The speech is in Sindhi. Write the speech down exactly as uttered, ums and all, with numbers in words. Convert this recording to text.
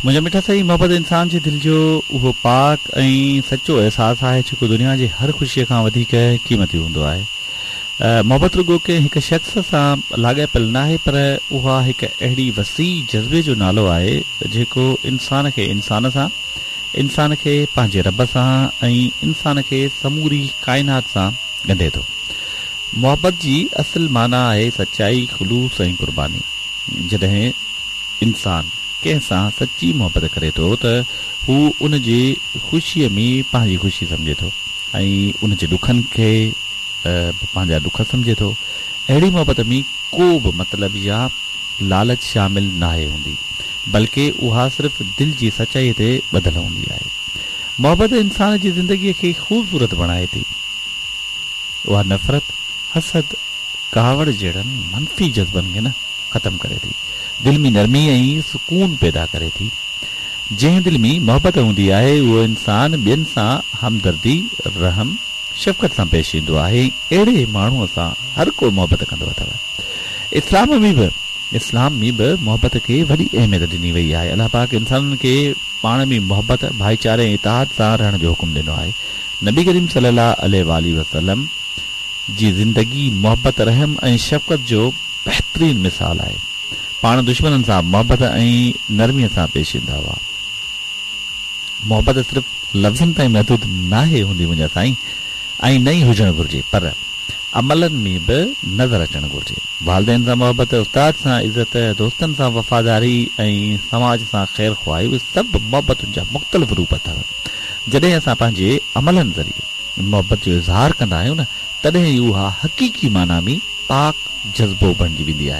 منهنجا مٺا سائين، محبت انسان جي دل جو اهو پاڪ ۽ سچو احساس آهي جيڪو دنيا جي هر خوشيءَ کان وڌيڪ قيمتي هوندو آهي. محبت رڳو ڪنهن هڪ شخص سان لاڳاپيل ناهي، پر اها هڪ اهڙي وسيع جذبي جو نالو آهي جيڪو انسان کي انسان سان، انسان کي پنهنجي رب سان ۽ انسان کي سموري ڪائنات سان ڳنڍي ٿو. محبت جي اصل معنيٰ آهي سچائي، خلوص ۽ قرباني. جڏهن انسان ڪنهن سان سچي محبت ڪري ٿو ته هو ان جي خوشيءَ ۾ پنهنجي خوشي سمجهي ٿو ۽ ان جي ڏکن کي به پنهنجا ڏک سمجهي ٿو. اهڙي محبت ۾ ڪو به مطلب يا لالچ شامل ناهي هوندي، بلڪه اها صرف دل جي سچائيءَ تي ٻڌل هوندي آهي. محبت انسان جي زندگيءَ کي خوبصورت بڻائي ٿي. اها نفرت، حسد، ڪاوڙ جهڙن منفي جذبن کي نه ختم ڪري ٿي، دل ۾ نرمي ۽ سڪون پيدا ڪري ٿي. جنهن دل ۾ محبت هوندي آهي اهو انسان ٻين سان همدردي، رحم، شفقت سان پيش ايندو آهي. اهڙي ماڻهوءَ سان هر ڪو محبت ڪندو اٿو. اسلام ۾ به اسلام ۾ به محبت کي وڏي اهميت ڏني وئي آهي. الله پاڪ انسانن کي پاڻ ۾ محبت، ڀائيچاري ۽ اتحاد سان رهڻ جو حڪم ڏنو آهي. نبي ڪريم صلي الله عليه وآله وسلم جي زندگي محبت، رحم ۽ شفقت جو بهترين مثال آهي. پاڻ دشمنن سان محبت ۽ نرميءَ سان پيش ايندا هئا. محبت صرف لفظن تائين محدود ناهي هوندي منهنجا سائين، ۽ نه ئي هجڻ گهرجي، پر عملن ۾ به نظر اچڻ گهرجي. والدين سان محبت، استاد سان عزت، دوستن سان وفاداري ۽ سماج سان خير خواهي، اهي سڀ محبتن جا مختلف روپ اٿو. جڏهن اسان پنهنجي عملن ذريعي محبت جو اظهار ڪندا آهيون نه، تڏهن ئي اها حقيقي معنيٰ ۾ پاڪ جذبو بڻجي ويندي آهي.